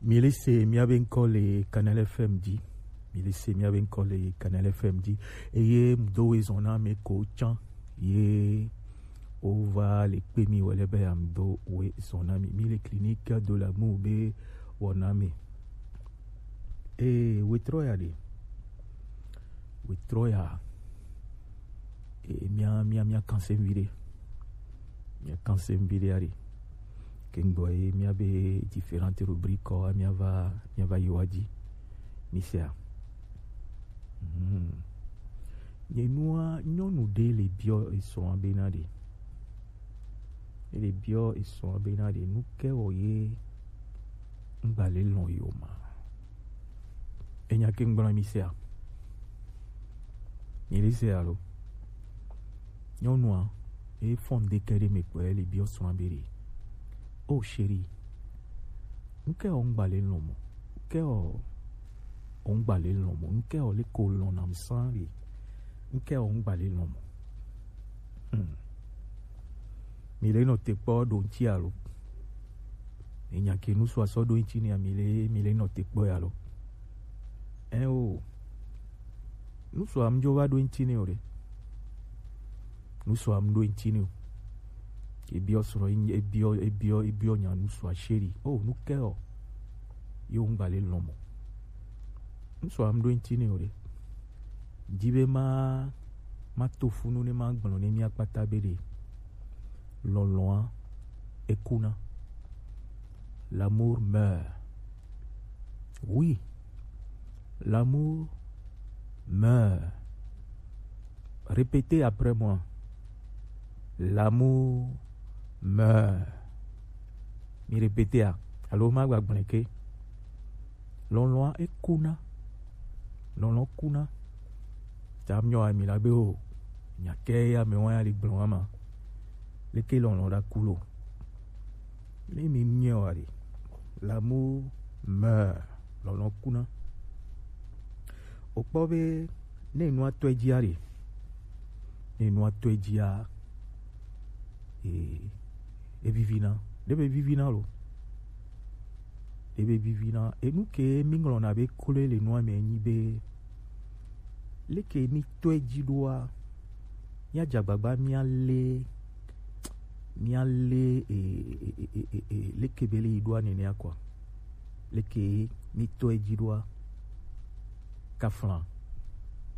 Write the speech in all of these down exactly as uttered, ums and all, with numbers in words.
Mi le se miabe ŋkɔ le Canal F M dzi. Mi le se miabe ŋkɔ le Canal F M dzi. Eye ŋdo we zɔn na ame ko tsã. Ye wova le kpe mi wele be ŋdo we zɔn na mi. Mi le Clinique de l'amour be wɔna me. Ee, wetrɔ ya ɖe. Wetrɔ ya. Ee, mia, mia, mia kanse mi ɖe. Mia kanse mi ɖe ya ɖe. Ke ŋgbɔ ye mia be différentes rubriques wa mia va, mia va yi wa dzi. Mi sea. Hmm. Nye nua, nyɔnu ɖe le biɔ esrɔ̃a bena ɖe. Ele biɔ esrɔ̃a bena ɖe nu ke wɔ ye ŋgba le lɔn yo ma. Enya ke ŋgblɔ mi sea. Mi le se alo. Nyɔnua, e fɔn de ke ɖe me kpɔ ele biɔ srɔ̃a be ɖe. Oh chérie, nu ke wɔ ŋgba le lɔn mo. Nu ke wɔ ŋgba le lɔn mo. Nu ke wɔ le ko lɔn nam san ɖe. Nu ke wɔ ŋgba le lɔn mo. Hmm. Mi le nɔ te kpɔ ɖo ŋtsi alo. Enya ke nu sɔ asɔ ɖo ŋtsi ni mi le, mi le nɔ te kpɔ ya lo. Ɛ o. Nu sɔ am dzo va ɖo ŋtsi ni o ɖe. Nu sɔ am ɖo ŋtsi ni o. Ebiɔ srɔ̃, ebiɔ, ebiɔ, ebiɔ nya nu sɔ chérie. Oh, nu ke wɔ. Yo ŋgba le lɔn mo. Nu sɔ am ɖo ŋtsi ni o ɖe. Di be ma, ma to funu ne ma gblɔ ne mia kpata be ɖe. Lɔlɔa ekuna. L'amour meurt. Oui. L'amour meurt. Répétez après moi. L'amour meurt. Mi répétez a. Alo ma gba gblẽ ke. Lɔlɔa ekuna. Lɔlɔ kuna. Ta mi nyɔ ami la be o. Nya ke ya me wa ya li gblɔ wa ma. Leke lɔlɔ ɖa ku lo. Ne mi nyɛ wa ɖe. L'amour meurt. Lɔlɔ kuna. O kpɔ be ne nua tɔe dzia ɖe. Ne nua tɔe dzia. Ee, evivina. Ɖe be vivina lo. Ɖe be vivina. Enu ke mi ŋlɔna be kloe le nua me nyi be. Leke mi tɔe dzi ɖoa. Mia dze agbagba mia le, mia le, e, e, e, e, e, leke be le yi ɖoa nenea kɔa. Leke mi tɔe dzi ɖoa. Kafla.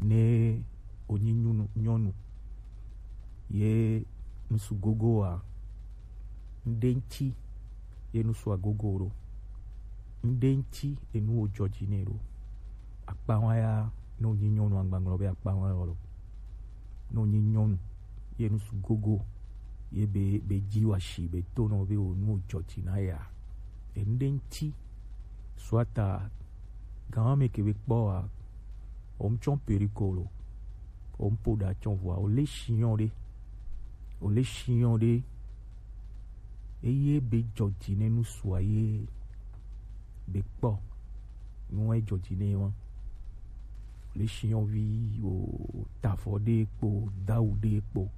Ne o nyi nyɔnu, nyɔnu. Ye nusu gogo wa. Ŋɖe ŋtsi. Ye nusu agogo ɖo. Ŋɖe ŋtsi enu wo dzɔ dzi nɛ ɖo. Akpa wa ya, ne wonyi nyɔnu agbanglɔ be akpa wa ya lo. Ne wonyi nyɔnu, ye nusu gogo, ye be, be dzi wa shi be to nɔ be wo nu wo dzɔ dzi na ya. Enu ɖe ŋtsi, soit a, gan wa me ke be kpɔ wa, o ŋtsɔ periko lo, o ŋpo ɖa tsɔ vɔa, o le shinyɔ ɖe, o le shinyɔ ɖe, eye be dzɔ dzi ne nusu a ye be kpɔ. Nu wa dzɔ dzi ne wa. Le shinyɔvi o tafɔ ɖe kpo, dawu ɖe kpo.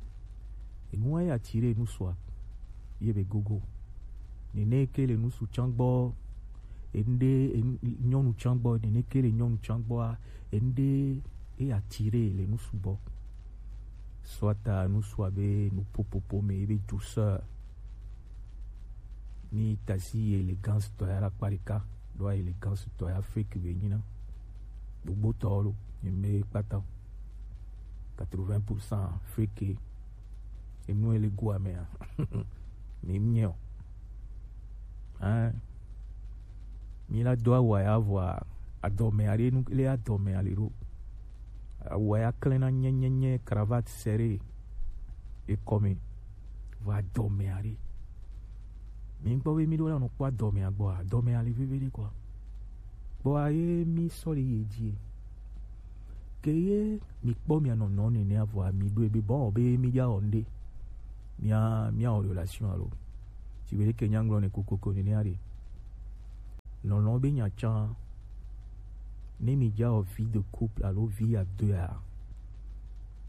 Enu wa ya ti ɖe nusu a. Ye be gogo. Nene ke le nusu tsã gbɔ. Enu ɖe, enu, nyɔnu tsã gbɔ. Nene ke le nyɔnu tsã gbɔa. Enu ɖe eya ti ɖe le nusu gbɔ. Soit a nusu a be nu popopo me, ebe douceur. Mi tasi élégance tɔ ya la kpa ɖeka, ɖo élégance tɔ ya fake be nyina. Gbogbo tɔ lo, mi me kpata. Quatre-vingts pour cent fake. Enu ele go amea. Mi mnyɛ o. Hein? Mi la do awu ya vɔa, adɔme aɖe nu, le adɔme ali ɖo. Awu ya klẽ na nye, nye, nye, cravate serrée. Ekɔme. Vɔ adɔme aɖe. Mi kpɔ be mi ɖo la nɔ kpɔ adɔme agbɔa, adɔme ali veve ɖe kɔa. Kpɔa ye mi sɔ le ye dzi. Ke ye mi kpɔ mia nɔnɔ nene avɔa mi ɖo ebe bɔ be mi ya wɔ nde. Mia, mia wɔ relation alo. Ti be ke nyangblɔ ne kokoko nene aɖe. Lɔlɔ be nya tsã. Ne mi dza wɔ vie de couple alo vie à deux a.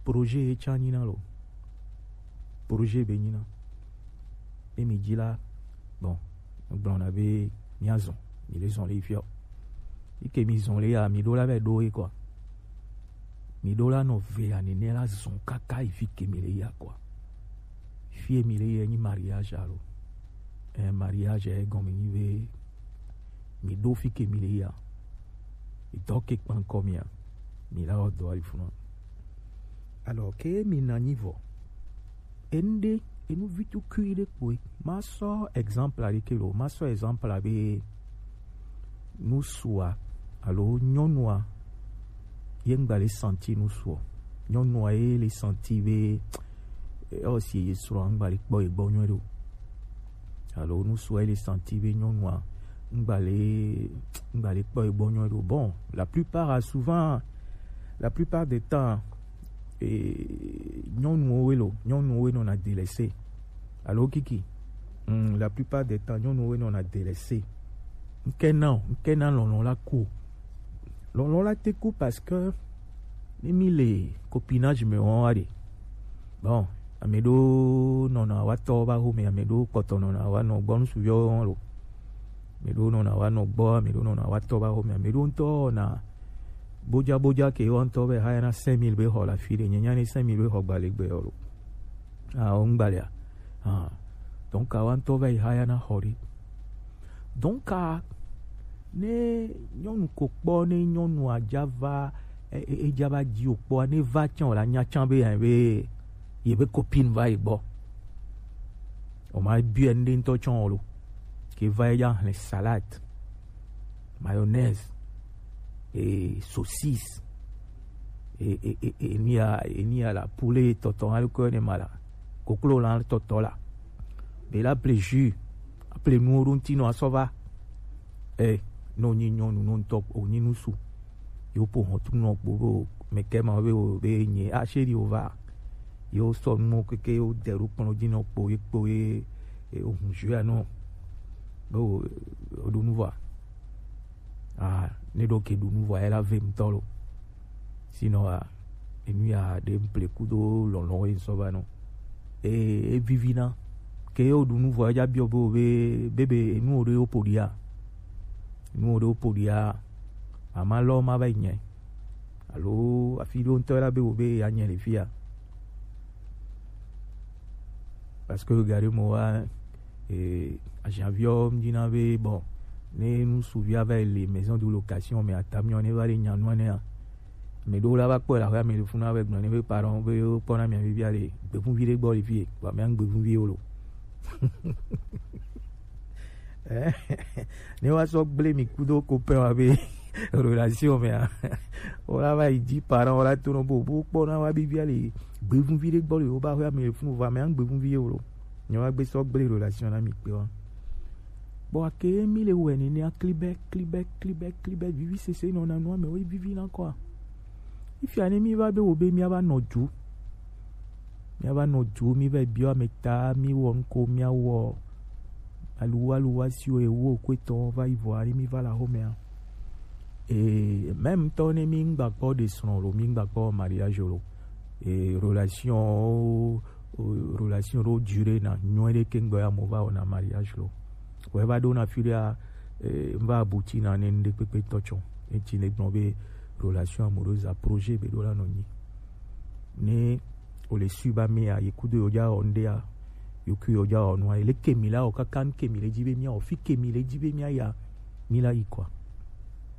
Projet ye tsã nyina lo. Projet be nyina. Ne mi dzi la, bon, gblɔna be mia zɔn. Mi le zɔn le yi fiɔ. Yi ke mi zɔn le ya, mi ɖo la vɛ ɖo ye kɔ. Mi ɖo la nɔ ve ya nene la zɔn kaka yi fi ke mi le ya kɔ. Fi mi le ya nyi mariage alo. Eh, mariage e gɔme nyi ve mi ɖo fi ke mi le ya. Idɔ ke kpankɔ mia. Mi la wɔ dɔ ali funa. Alors ke mi na nyi vɔ. Ende enu vitu kui ɖe kpoe. Ma sɔ exemple aɖe ke lo. Ma sɔ exemple abe nusua alo nyɔnua ye ŋgba le santi nusua. Nyɔnua ye le santi be ɔ si ye srɔ̃ ŋgba le kpɔ ye gbɔ nyuie ɖo. Alo nusua ye le santi be nyɔnua ŋgba le ŋgba le kpɔ ye gbɔ nyuie ɖo. Bon, la plupart a souvent la plupart des temps eh, nyɔnuwo we lo nyɔnuwo we nɔna delɛse alo kiki mm, la plupart des temps nyɔnuwo we nɔna delɛse ŋkɛna o ŋkɛna lɔlɔ la ku o lɔlɔ la te ku parce que ne mi le copinage me wɔn wa de bon ame ɖewo nɔna wa tɔ ba xome ame ɖewo kpɔtɔ nɔna wa nɔ gbɔ nusuviwo wɔn lo ame ɖewo nɔna wa nɔ gbɔ ame ɖewo nɔna wa tɔ ba xome ame ɖewo ŋutɔ wɔna bojabojake woantɔ va yi hayana cinq mille be xɔ le afi ɖe. Nye nya ne cinq mille be xɔ gbalegbe ɔ lo. Ah, wo ŋgbalea. Ah. Donc awoantɔ va yi hayana xɔ ɖe. Donc ne nyɔnu ko kpɔ ne nyɔnua dza va e- e- edza va dzi o kpɔa ne va tsã o la nya tsã be yɛn be ye be copine va yi gbɔ. O ma biɛ ŋɖe ŋutɔ tsã o lo. Ke va yi dza hlẽ salade. Mayonnaise, et saucisse, et, et, et, et il y a, il y a la poulet tɔtɔ, hein, le cœur de mala, koklo la tɔtɔ la. Mais là, plaisir, après nous, on tino à sova. Eh, non, ni non, nous, non, top, on ni nous sous. Yo pour on tout non, pour, mais comment, be, be, ni, ah, chéri, on va. Yo, son, mon, que, que, yo, de, pour, dino, pour, pour, et, et, on, je, ah, non. Be o ɖu nu vɔa? Ah, ne ɖo ke ɖu nu vɔa ela ve ŋutɔ lo. Sinon ah, enu ya ɖe ŋple kudo lɔlɔ ye ŋsɔ va nɔ. E evivi na. Ke o ɖu nu vɔa edza biɔ be o be bebe enu o ɖe o ƒo ɖia. Enu o ɖe o ƒo ɖia. Mama lɔ ma va yi nyɛ. Alo afi ɖo ŋutɔ la be o be ya nyɛ le fia. Parce que regardez moi eh, agent viɔ mdina be bon ne nu suvia va le maison de location mais atamiɔ ne va le nyanua nea me ɖo la va kpɔ la hɔa me le funa be gblɔ ne be parent be kpɔna mia vivia le gbevunvi ɖe gbɔ le fie ba mia gbevunvi wo lo ne wa sɔ gblẽ mi kudo copain wa be relation mea wala va yi dzi parent wala to nɔ bo bo kpɔna wa vivia le gbevunvi ɖe gbɔ le wo ba hɔa me le funu va mia gbevunvi ye wo lo Nyɔnu agbe sɔ gblẽ relation na mi kpe wa. Bon ake mi le wɛ nene a klibɛ klibɛ klibɛ klibɛ vivi sese nɔ na nua me wo vivi na kɔa. Ifia ne mi va be wo be mi ava nɔ ju. Mi ava nɔ ju mi va biɔ ame ta mi wɔ nuko mi awɔ. Aluwa aluwa si wo ewo ko etɔn va yi vɔ ani mi va la home a. Et même tɔ ne mi ngba kpɔ de srɔ̃ lo mi ngba kpɔ mariage lo. Et relation relation ɖo durée na nyuie ɖe ke ŋgbɔ ya mo va wɔna mariage lo wɔ eva ɖo na fi ɖea eh, va abuti na ne ŋɖe kpekpe tɔ tsɔ eti ne gblɔ be relation amoureuse a projet be ɖo la nɔ nyi ne o le sui ba me ya yi kudo yo dza wɔ ŋɖea yo kui yo dza wɔ nua le kemi la o kaka ŋ kemi le dzi be mia o fi kemi le dzi be mia ya mi la yi kɔa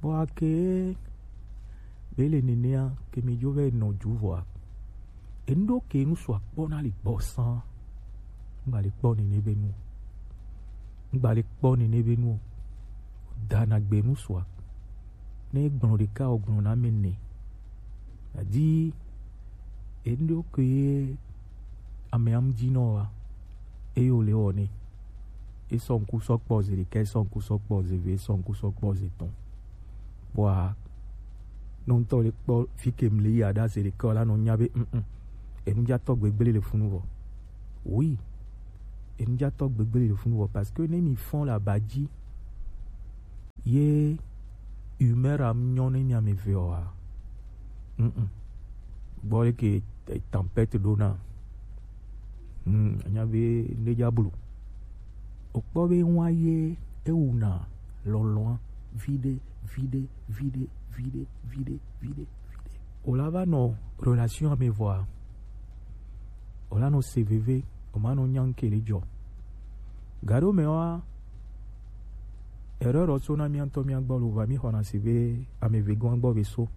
bɔ ake be le nenea kemi dzo vɛ nɔ ju vɔa Enu ɖewo ke nu sɔ akpɔ na li gbɔ sã. Ŋgba le kpɔ nene be nu. Ŋgba le kpɔ nene be nu. Dana gbe nu sɔ. Ne gblɔ ɖeka o gblɔ na me ne. Adi enu ɖewo ke ye ame am dzi nɔ wa. Eye wòle wɔ nɛ. Esɔ ŋku sɔ kpɔ zi ɖeka, esɔ ŋku sɔ kpɔ zi eve, esɔ ŋku sɔ kpɔ zi etɔ̃. Kpɔa, ne ŋutɔ le kpɔ fi ke mle yi aɖa zi ɖeka la nɔ nya be mm enudzatɔ gbegble le funu vɔ. Oui, enudzatɔ gbegble le funu vɔ parce que ne mi fɔn le aba dzi ye humeur am nyɔ ne mi ame eve oa, mm gbɔ leke tempête ɖo na. Hmm, anya be ne dza blo. Okpɔ be ŋua ye ewuna lɔlɔ̃a viɖe, viɖe, viɖe, viɖe, viɖe, viɖe, viɖe. O la va nɔ relation me vɔa, o la nɔ se veve, o ma nɔ nya ŋke le jɔ. Gaɖo me wa, erreur ɔ so na mía ŋutɔ mía gbɔ lo va mi xɔna se be ame ve gɔn gbɔ be so.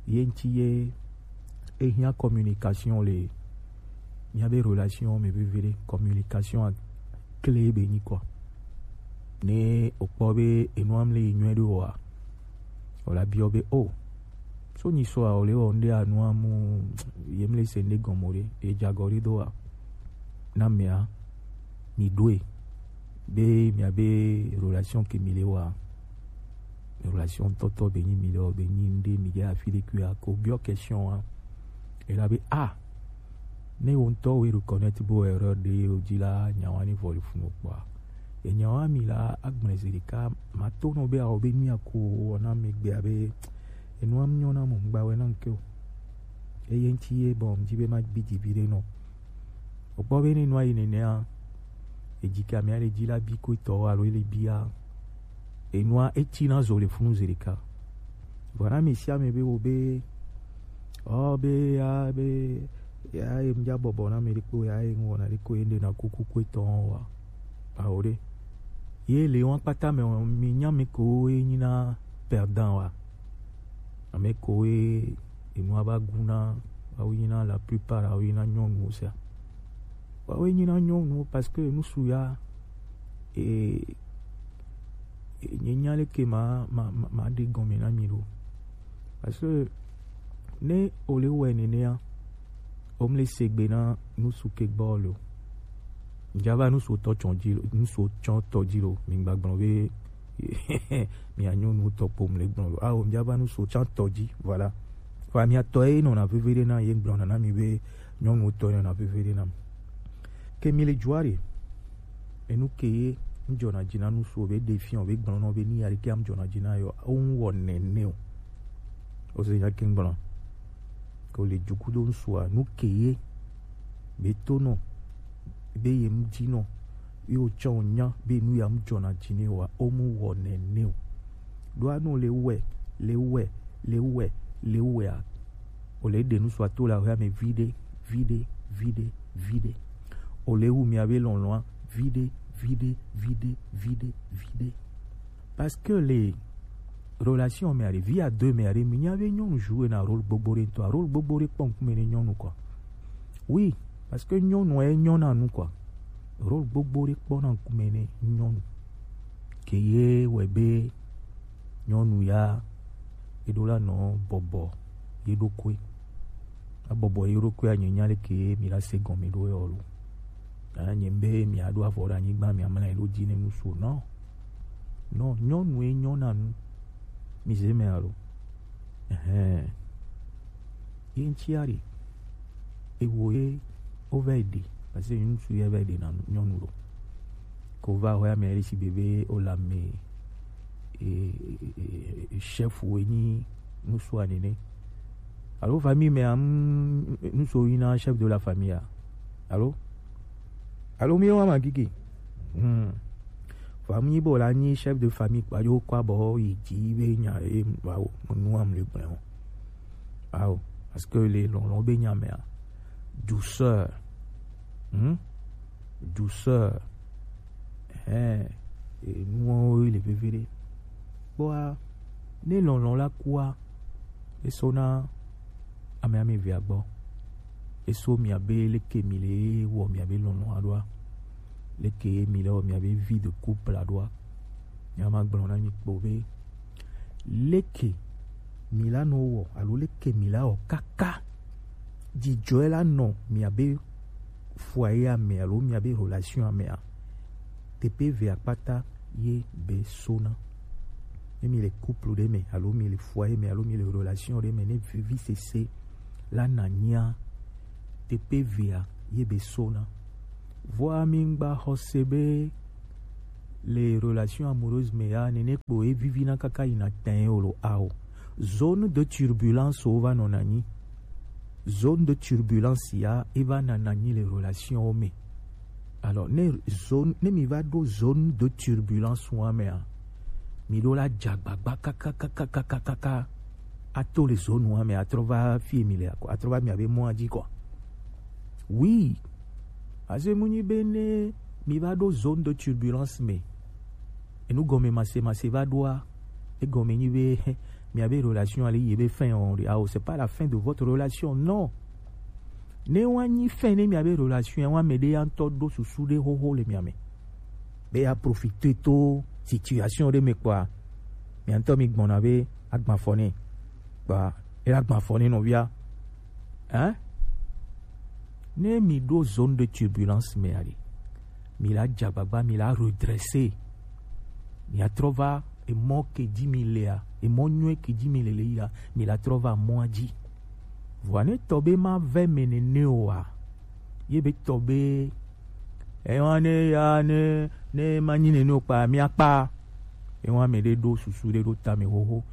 Ye ŋuti ye e hiã communication le mía be relation me veve ɖe. Communication a clé be nyi kɔ. Ne o kpɔ be enua mle yi nyuie ɖo wa, o la biɔ be o, so nyi so a o le wɔ ŋɖe anu amu ye mle se ŋɖe gɔme o ɖe, e jagɔ ɖe do wa. Na mea, mi ɖoe be mia be relation ke mi le wa, relation tɔtɔ be nyi mi le wɔ be nyi ŋɖe mi ɖe afi ɖe kui a ko biɔ question a. E la be a, ne wo ŋutɔ wo reconnaître bo erreur ɖe o ji la, nyawa ni vɔ le funu kpɔa. E nyawa mi la agblẽ zi ɖeka ma to nɔ be a o be nyi a ko wɔ na mi gbe a be enua mi nyɔ na mo ŋgba wɛ na ŋke o. Eye ŋuti ye bɔ ŋdi be ma gbi dzi vi ɖe nɔ. O kpɔ be ne nua yi nenea, e dzi ke ame aɖe dzi la bi ko etɔ alo ele bia, enua eti na zo le funu zi ɖeka. Vɔ na mi sia mi be wo be, ɔ be ya be ya ye ŋdza bɔbɔ na mi ɖekpo ya ye ŋwɔ na ɖekpo ye ŋɖe na kuku ko etɔ wa. Awo ɖe. Ye le wa kpata me o, mi nya mi ko ye nyi na perdant wa. Ame ko ye enua va gu na, awo nyi na la plupart awo nyi na nyɔnuwo sia. Awo nyi na nyɔnuwo parce que nusu ya e, e nye nya leke ma, ma, ma, ma ɖe gɔme na mi ɖo. Parce que ne o le wɛ nenea, o mle se gbe na nusu ke gbɔ lo. Ŋdza va nusu tɔ tsɔ dzi lo, nusu tsɔ tɔ dzi lo. Mi gba gblɔ be mi a nyɔnu tɔ kpo mle gblɔ lo. Awo ŋdza va nusu tsɔ tɔ dzi, voilà. Fa mi atɔ ye nɔ na veve ɖe na ye gblɔ na na mi be nyɔnu tɔ ye nɔ na veve ɖe na mi. Ke mi le jua ɖe, enu ke ye ŋdzɔna dzi na nusu o be ɖe fia o be gblɔ nɔ be ni ya ɖe ke am dzɔna dzi na yɔ, o ŋu wɔ nene o. O se nya ke gblɔ. Ko le jukudo ŋsua, nu ke ye be to nɔ, be ye mu dzi nɔ, ye o tsɔ o nya be nu ya mu dzɔna dzi ne wa, o mu wɔ nene o. Ɖo anu le wɛ, le wɛ, le wɛ, le wɛ a. O le ɖe nusua to la o ya me viɖe, viɖe, viɖe, viɖe. O le wu mia be lɔlɔ̃a viɖe, viɖe, viɖe, viɖe, viɖe. Parce que le relation me aɖe, vie à deux me aɖe, mi nya be nyɔnu joue na rôle gbogbo ɖe ŋutɔ. Rôle gbogbo ɖe kpɔ ŋkume ne nyɔnu quoi. Oui, parce que nyɔnu e nyɔ na nu quoi. Rôle gbogbo ɖe kpɔ na ŋkume ne nyɔnu. Ke ye wɛ be nyɔnu ya e ɖo la nɔ bɔbɔ ye ɖokui. A bɔbɔ ye ɖokui a nye nya leke mi la se gɔme ɖo yɔ lo. A nye be mi a ɖo avɔ ɖe anyigba mi a mla ye ɖo dzi ne nu so nɔ. Nɔ nyɔnu e nyɔ na nu. Mi ze me alo. Ɛhɛn. Ye ŋtsi a ɖe. Ewo ye o va yi ɖe. Parce que ŋutsu ye va yi ɖe na nyɔnu lo. Ko va hɔ ya me ɖe si bebe o la me. E, e, e, e, chef wo nyi nusu a nene. Alo famille me am nusu yi na chef de la famille a. Alo? Alo mi wa ma gigi. Hmm. Famille bo la nyi chef de famille kpa yo kwa bo yi ji be nya e wa o nu am le gblẽ o. Awo, parce que le lɔlɔ̃ be nya me a. Douceur. Hmm? Douceur. Ɛhɛn, enuwo le veve ɖe. Kpɔa, ne lɔlɔ̃ la kua, eso na ame ame evea gbɔ. Eso mia be leke mi le wɔ mia be lɔlɔ̃ aɖoa, leke mi le wɔ mia be vie de couple aɖoa. Nya ma gblɔ na mi kpo be leke mi la nɔ wɔ alo leke mi la wɔ kaka dzidzɔe la nɔ mia be foyer a me alo mia be relation a me a, teƒe eve akpata ye be sona. Ne mi le couple ɖe me alo mi le foyer me alo mi le relation ɖe me, ne vivisese la na nyia, teƒe evea ye be sona. Vɔa mi ŋgba xɔ se be le relation amoureuse me ya nene kpo e vivina kaka yina tɛn o lo ao. Zone de turbulence wo va nɔna nyi. Zone de turbulence ya e va nana nyi le relation wo me. Alors ne zone, ne mi va ɖo zone de turbulence wa me a, Mi ɖo la dza agbagba kakakakakaka ato le zone wa me atrɔ va fi mi le akɔ atrɔ va mi abe mɔa dzi kɔ. Oui, aze mu nyi be ne mi va ɖo zone de turbulence me, enu gɔme mase mase va ɖoa, egɔme nyi be mi abe relation ali yi be fin o, ah, c'est pas la fin de votre relation, non. Ne wa nyi fin ne mi abe relation wa me ɖe ya ŋutɔ ɖo susu ɖe xoxo le mia me. Be ya profiter to situation ɖe me kpɔa, mia ŋutɔ mi gbɔna be agba fɔ ne kpɔa, ela agba fɔ ne nɔvia. Hein? Ne mi ɖo zone de turbulence me ali, mi la dza agbagba, mi la redresser, mi atrɔ va emɔ ke dzi mi lea, emɔ nyuie ke dzi mi le le ya, mi la trɔ va mɔa dzi. Vɔa ne tɔ be ma vɛ me nene oa, ye be tɔ be ewa ne ya ne ne ma nyi nene o kpa mi akpa. Ewa me ɖe ɖo susu ɖe ɖo ta me xoxo.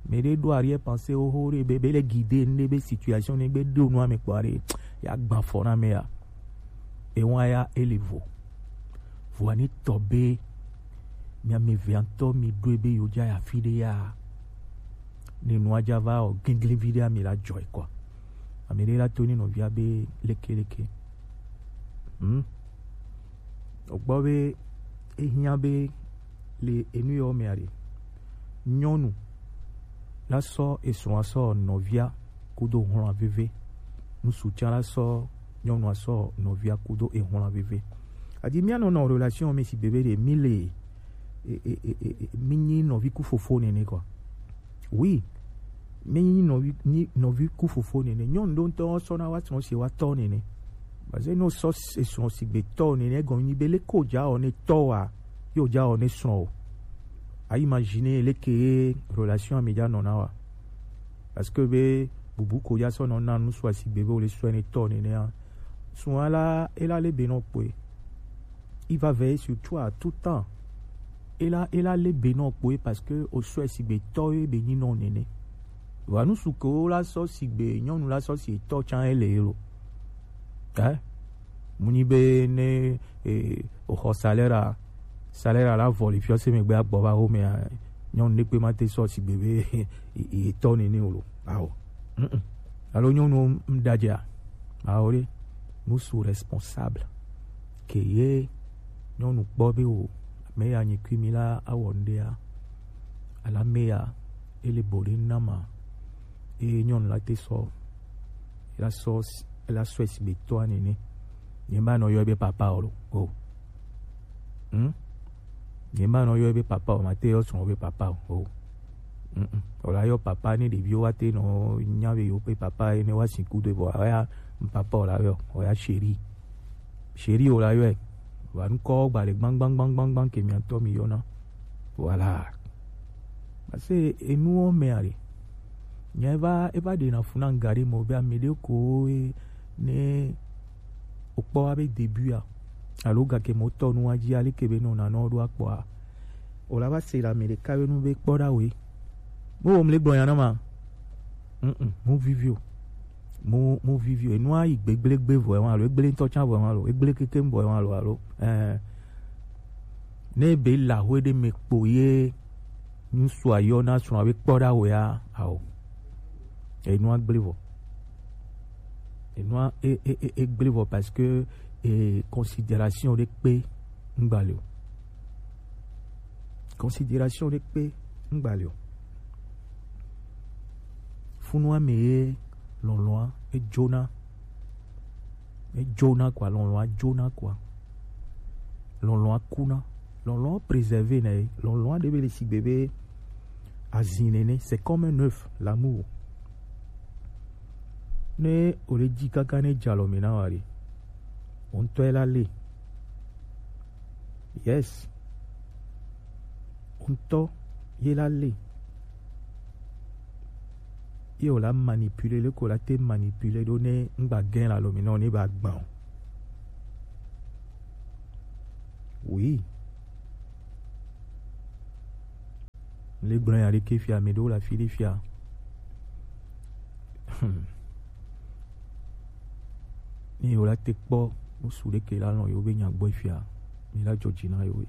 Me ɖe ɖo arrière pensée xoxo ɖe be be le guider ne be situation ne be ɖo nua me kpɔ ɖe ya gba fɔ na me ya. Ewa ya ele vo. Vɔa ne tɔ be mi ame eve ŋutɔ mi ɖo ebe yo dza ya fi ɖe ya. Ne nua dza va o gingli vi ɖe mi la dzɔ ekɔ. Ame ɖe la to ni nɔvia be leke leke. Hmm? Ogbɔ be ehiã be le enu yɔ mea ɖe, nyɔnu la sɔ esrɔ̃a sɔ nɔvia kudo hlɔ̃a veve. Ŋutsu tsã la sɔ nyɔnua sɔ nɔvia kudo ehlɔ̃a veve. Adi mía nɔnɔ relation me si bebe ɖe mi le e, e, e, e, e, mi nyi nɔvi ku fofo nene kɔ. Oui, mi nyi nɔvi nyi nɔvi ku fofo nene. Nyɔnu ɖo ŋutɔ sɔ na wa srɔ̃ si wa tɔ nene. Parce que no sɔ esrɔ̃ si gbe tɔ nene gɔn nyi be le ko dza o ne tɔ wa yo dza o ne srɔ̃ o. A imaginer le ke relation mi dza nɔ na wa. Parce que be bubu ko ya sɔ nɔ na nu sɔ asigbe be o le sɔ ne tɔ nene a. Sɔ ala ela le be nɔ kpoe. Il va veiller sur toi tout temps. Ela ela le be nɔ kpoe parce que o sɔ asigbe tɔ ye be nyi nɔ nene. Wa nu su ko la sɔ sigbe nyɔnu la sɔ si tɔ tsan ele lo. Eh? Mu nyi be ne eh, o xɔ salaire a salaire a la vɔ le fiɔ se me gbe agbɔ va ho me a nyɔnu ne kpe ma te sɔ sigbe be e tɔ nene o lo. Awo. Mm-mm. Alo nyɔnu ŋdadze a? Awo ɖe. Nous sommes responsables. Ke ye nyɔnu kpɔ be o me ya nyi kui mi la awɔ ŋɖe a. Ala me ya ele bo ɖe na ma. Eye nyɔnu la te sɔ la sɔ la sɔ esi be tɔa nene. Nye ma nɔ yɔ be papa o lo. O. Hmm? Nye ma nɔ yɔ be papa o, ma te yɔ srɔ̃ be papa o. O. Mm-mm. O la yɔ papa ne ɖeviwo wa te nɔ nya be yo pe papa ene wa si ku de vɔ ya papa o la yɔ o ya chéri. Chéri o la yɔe. Wa ŋkɔ gba le gbangbangbangban ke miatɔ mi yɔna. Voilà. Parce que enuwo me are. Nya eva eva ɖe na funa ŋga ɖe mɔ be ame ɖe ko ne o kpɔ abe début a alo gake mɔ tɔ nu adzi ale ke be nɔ nanɔ ɖo akpɔa. O la va se la ame ɖeka be nu be kpɔ ɖa we. Mo wo mle gblɔ ya na ma. Mm, mm, mo vivio. Mo mo vivio. Enua yi gbegble gbe vɔ ema lo, egble ŋutɔ tsa vɔ ema lo, egble keke vɔ ema lo alo. Eh. Ne be la hoe ɖe me kpo ye ŋutsua yɔna srɔ̃a be kpɔ ɖa wea ao. Enua gblẽ vɔ. Enua e e e e gblẽ vɔ parce que e considération ɖe kpe ŋgba le o. Considération ɖe kpe ŋgba le o. Funua me ye lɔlɔa edzona. Edzona quoi, lɔlɔa dzona quoi. Lɔlɔa kuna. Lɔlɔa préserver nɛ. Lɔlɔa ɖe be le sigbe be azin nene. C'est comme un œuf, l'amour. Ne o le dzi kaka ne dza lɔ me na wa ɖe, o ŋutɔ ye la le. Yes. O ŋutɔ ye la le. Ye o la manipuler, le ko la te manipuler ɖo ne ŋgba gɛn la lɔ me na o ne ba gbã o. Oui. Le gblɔ ya ɖeke fia, ame ɖewo le afi ɖe fia. Hmm. Ne yewo la te kpɔ ŋsu ɖeke la lɔn yewo be nya gbɔ fia, mi la dzɔ dzi na yewo.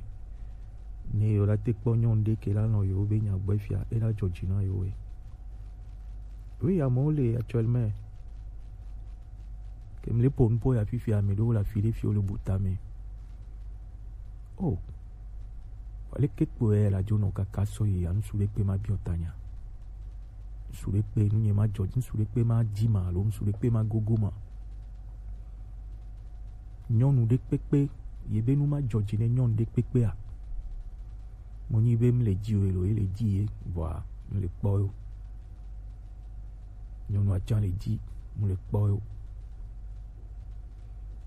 Ne yo la te kpɔ nyɔnu ɖe ke la lɔn yo be nya gbɔ fia, e la jɔ dzi na yo we. Oui, amewo le actuellement. Ke mi le po nu po ya fifia, ame ɖewo le afi ɖe fi wo le bu tame. Oh. Aleke kpoe la dzo nɔ kaka sɔ yi ya, ŋsu ɖe kpe ma biɔ tanya. Ŋsu ɖe kpe nu nye ma jɔ, ŋsu ɖe kpe ma dzi ma alo ŋsu ɖe kpe ma gogo ma. Nyɔnu ɖe kpekpe, ye be nu ma jɔ dzi ne nyɔnu ɖe kpekpea. Mo nyi be mle dzi o, elo ye le dzi ye, vɔa mle kpɔ yo. Nyɔnua tsã le dzi, mle kpɔ yo.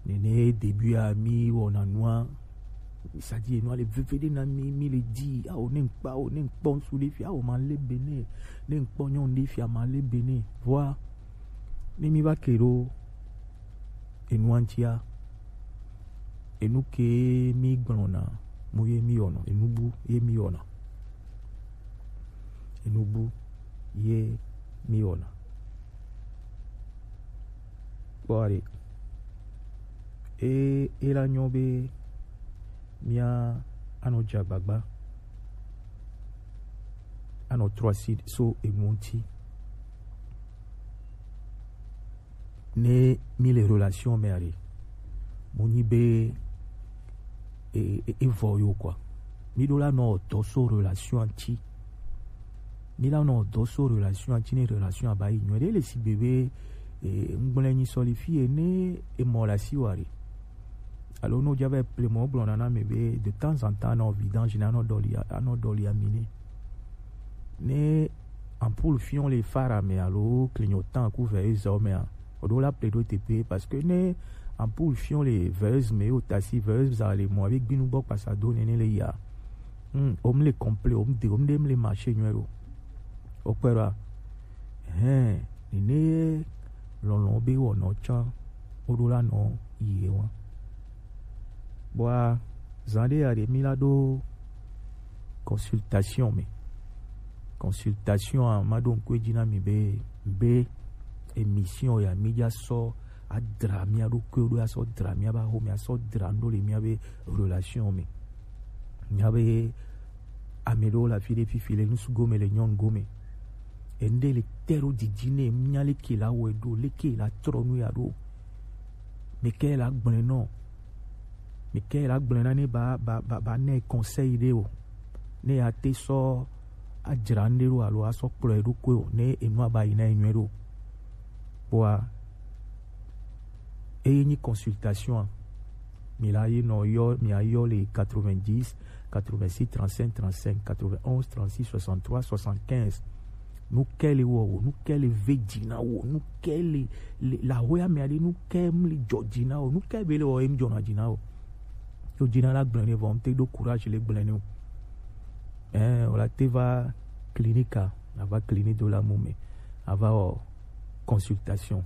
Nene début a mi wɔna nua, c'est-à-dire nua le veve ɖe na mi, mi le dzi, awo ne ŋkpa, awo ne ŋkpɔ ŋsu ɖe fia, awo ma le be ne, ne ŋkpɔ nyɔnu ɖe fia ma le be ne. Vɔa, ne mi va ke ɖo enua ŋutia, enu ke mi gblɔna, mo ye mi wɔna, enu bu ye mi wɔna. Enu bu ye mi wɔna. Kpɔ ɖe. E, e la nyɔ be mia anɔ dze agbagba, anɔ trɔ asi so enu ŋuti. Ne mi le relation me aɖe, mo nyi be e, e, e vɔ yo quoi. Mi ɖo la nɔ dɔ so relation ŋuti. Mi la nɔ dɔ so relation ŋuti ne relation aba yi nyuie ɖe le si be be e, ŋgblẽ nyi sɔ le fi ye ne emɔ le asi wa ɖe. Alo ne wodza va ple mɔ, wogblɔna na mi be de temps en temps anɔ vidange ne anɔ ɖɔli, anɔ ɖɔli ami nɛ. Ne ampoule fiɔ le fara me alo clignotant ku veilleuse mea, oɖo la ple ɖo teƒe parce que ne ampoule fiɔ le veilleuse me, o tasi veilleuse za le mɔ abe gbinu gbɔ kpasa do nene le ya. Hmm, o mle complet, o mde, o mde mle marché nyuie ɖo. O kpɛ ɖoa? Hɛn, nene lɔlɔ be wɔnɔ tsã, o ɖo la nɔ yi wa. Bua, zan ɖe ya ɖe mi la ɖo consultation me. Consultation a ma ɖo ŋkue dzi na mi be, be émission ya mi dza sɔ adra mia ɖokui ɖo, asɔ dra mia ba ho, mi asɔ dra ŋɖo le mia be relation me. Mia be ame ɖewo le afi ɖe fifi le ŋsu gome, le nyɔnu gome. Enu ɖe le te ɖo didi ne mia leke la wɔe ɖo, leke la trɔ nu ya ɖo. Mi ke la gblẽ nɔ. Mi ke la gblẽ na ne ba, ba, ba, ba ne conseil ɖe o. Ne ya te sɔ adzra ŋɖe ɖo alo asɔ kplɔe ɖokui o, ne enua ba yi na enyuie ɖo. Kpɔa, eye nyi consultation a, mi la yi nɔ yɔ, mi ayɔ le quatre-vingt-dix, quatre-vingt-six, trente-cinq, trente-cinq, quatre-vingt-onze, trente-six, soixante-trois, soixante-quinze. Nu ke le wɔ o, nu ke le ve dzi na o, nu ke le, le, le ahoe ame aɖe, nu ke mli dzɔ dzi na o, nu ke be le wɔ em dzɔna dzi na o. Yo dzi na la gblẽ ne vɔ, ŋte do courage le gblẽ ne o. Eh, o la te va clinique a, na va clinique do la mu me, ava wɔ consultation.